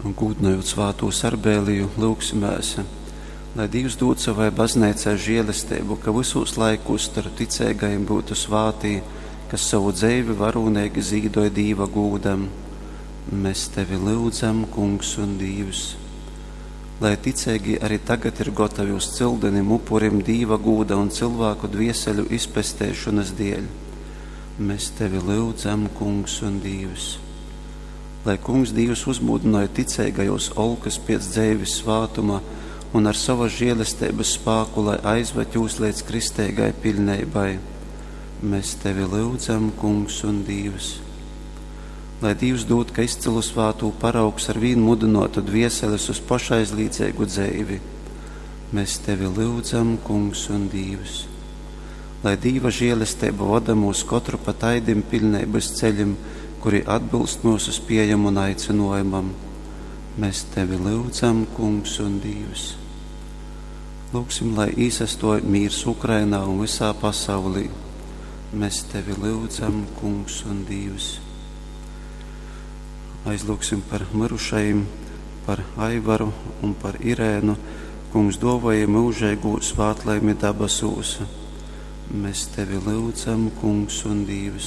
Un gūdnojot svātū Sarbēliju, lyugsimēs, lai Dīvs dūd savai bazneicai žēlesteibu, ka vysūs laikūs starp ticeigajim byutu svātī, kas sovu dzeivi varūneigi zīdoj Dīva gūdam. Mēs tevi lyudzam, Kungs un Dīvs. Lai ticeigī arī tagad ir gotavi uz cyldenim upurim Dīva gūda un cylvāku dvieseļu izpesteišonys dieļ. Mēs tevi lyudzam, Kungs un Dīvs. Lai Kungs Dīvs uzmūdynoj ticeigajūs olkys piec dzeivis svātuma un ar sovys žielesteibys spāku lai aizvad jūs leidz kristeigai piļneibai. Mēs tevi lyudzam, Kungs un Dīvs. Lai Dīvs dūd, ka izcylu svātū paraugs arvīn mudynuotu dvieselis uz pošaizlīdzeigu dzeivi. Mēs tevi lyudzam, Kungs un Dīvs. Lai Dīva žielesteiba voda myus kotru pa taidim piļneibys ceļim, kuri atbylst myusu spiejom un aicynuojumam. Mēs tevi lyudzam, Kungs un Dīvs. Lūgsim, lai īsastuoj mīrs Ukrainā un vysā pasaulī. Mēs tevi lyudzam, Kungs un Dīvs. Aizlūgsim par myrušajim, par Aivaru un par Irēnu. Kungs duovoja myužeigū svātlaimi dabasūs. Mēs tevi lyudzam, Kungs un Dīvs.